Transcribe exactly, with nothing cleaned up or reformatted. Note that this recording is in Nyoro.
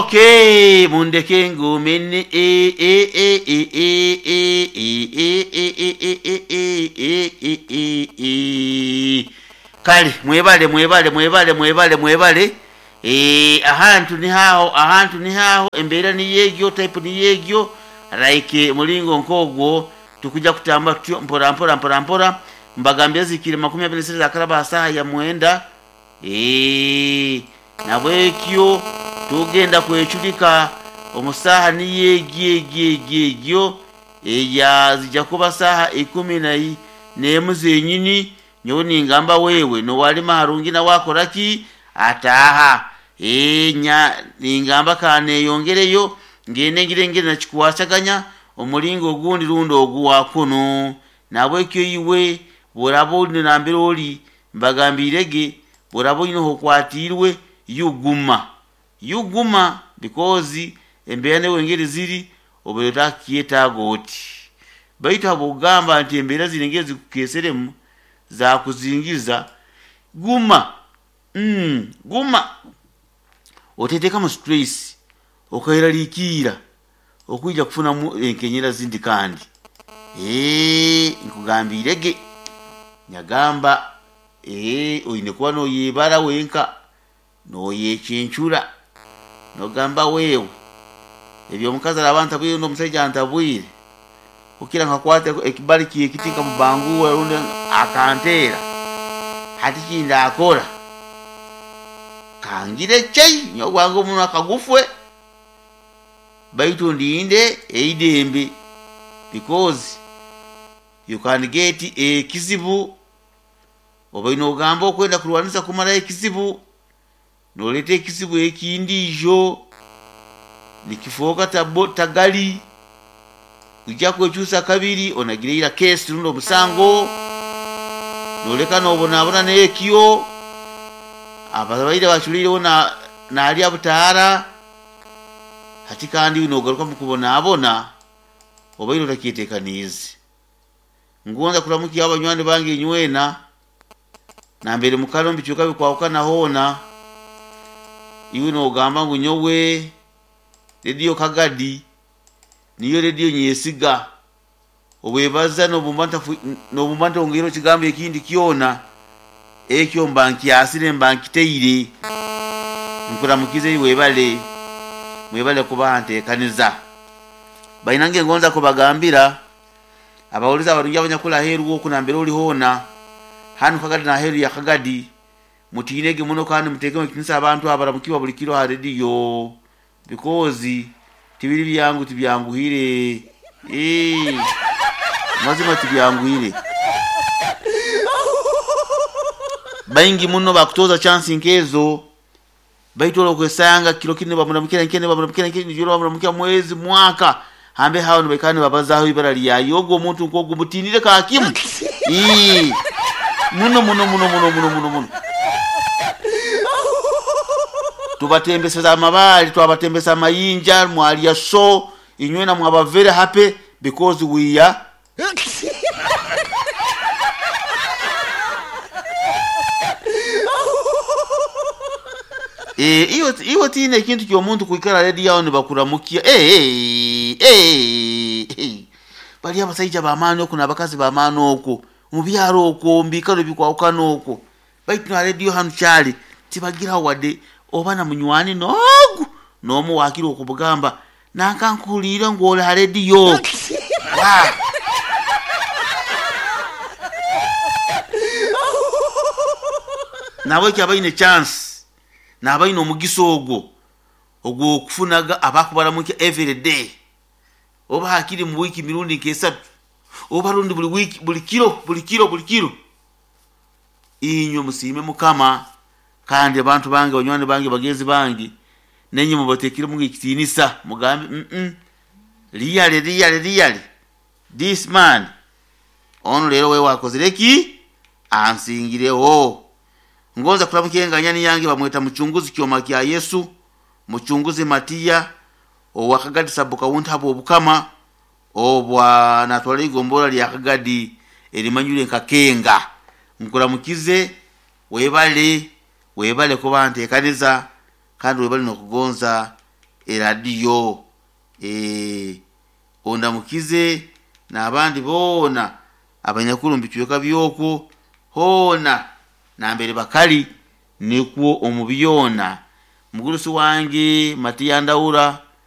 Okay, mundeke ngumene e e e e e e e e e e e e e e e e e. Kale mwebale mwebale mwebale mwebale mwebale. Eh, ahantu ni haho, ahantu ni haho, embeera ni yegyo, type ni yegyo, like mulingo nkogwo tukuja kutamba tutyo mpora mpora mpora mpora. Mbagambye zikiri makumi abiri na sita zakaraba saha ya mwenda. Eh, nabwekyo tugenda kwechulika omusaha ni yegyo eya zijja kuba saha ikumi na nemu zenyini. Nyowe ningamba wewe nowalima harungi na wakoraki ataha enya ningamba kaneyongereyo ngende ngire ngire nakikwasaganya omulingo ogundi rundi oguwa kuno. Nabwekyo iwe bworaba oli nambere oli mbagambirege bworaba oyine okwatirwe yuguma yuguma because embeera newe engeri ziri obeera otakyetaaga oti. Baitu habwokugamba nti embeera ziri engeri zikukeeseremu zakuzingiza, guma mm, guma oteteekamu stress okaeraliikirra okwija kufunamu enkenyera zindi kandi. Eee nkugambirege nyagamba ee oyine kuba noyebara wenka noyekyencura nogamba wewe ebyomukazi araba antabwire rundi omusaija antabwire kukira nkakwata ekibali kyekiti nkamubanguura rundi akanteera, hati kindakora kangire chai nyowe gwange omunwa kagufwe baitu ndinde eidembe because you can get ekizibu obaine ogamba okwenda kurwanisa kumaraho ekizibu noleeta ekizibu ekindiijo nikifooka tabo tagali ojja kwekyusa kabiri onagire ira kesi rundi omusango noleka nobonabona nekyo ababaire baculiireho na nalya butaara hati kandi nogaruka mukubonabona obaire otakyetekaniize. Ngonza kuramukya abanywani bange inywena nambere mukara omu bicweka bikwahukana hoona. Iwe nogamba ngu nyowe rediyo Kagadi niyo rediyo nyesiga obwebaza nobumba ntongeireho ekigambo ekindi kyona ekyo mba nkyasire mba nkiteire. Nkuramukize webale mwebale kuba ntekaniza. Bainange ngonza kubagambira abawuliza abarungi abanyakuli aheeru oku nambere oli hoona hanu Kagadi naheeru ya Kagadi mutiinege muno kandi muteekemu ekitiinisa abantu abaramukibwa buli kiro ha rediyo because tibiri byangu tibyanguhire. Ee, mazima tibyanguhire. Baingi muno bakutoza chance nkezo baitu okwesanga kiro kinu bamuramukira nkene bamuramukira nkene juro bamuramukira mwezi mwaka hambe hao nibaikana nibabazaho ibara lyayo ogwo omuntu nk'ogwo mutinire kakimu. Ee, muno muno muno muno muno muno muno tubatembeseza amabali twabatembesa amayinja mwalya so inywena mwaba very happy because we are Eh, iwe iwe tiine ekintu ky'omuntu kwikara rediyo aho nibakuramukia. Eh, eh, eh, bali abasaija b'amaani oku n'abakazi b'amaani okwo mu byaro okwo mu biikaro ebikwahukana okwo baitu na rediyo hanu kyali tibagiraho wadde oba na munywani n'ogu n'omu waakira okubugamba nanka nkuhuliire ngu oli ha rediyo. Wa nabwekyo abaine chance nabaine omugisa ogwo ogw'okufunaga abakubaramukya every day oba hakiri mu wiiki mirundi nk'esatu oba rundi buli wiiki buli kiro buli kiro buli kiro. Inywe musiime Mukama kandi abantu bange banywani bange bagenzi bange nenye mubateekiremu ekitiinisa mugambe mm really really really this man ono leero wewe akozire ki ansingireho. Ngonza kuramukya enganyani yange bamweta Muchunguzi Kyoma kya Yesu Muchunguzi Matiya owa Kagadi sub county habwa obukama obwa natwala igombora lya Kagadi erimanyire nka Kenga. Nkuramukize webale webale kuba ntekaniza kandi webale nokugonza Eradiyo. Eh, ondamukize n'abandi boona abanyakuru mu bicweka byokwo hoona nambere bakali, nikwo omu byona mugurusi wange Matiya Ndaura.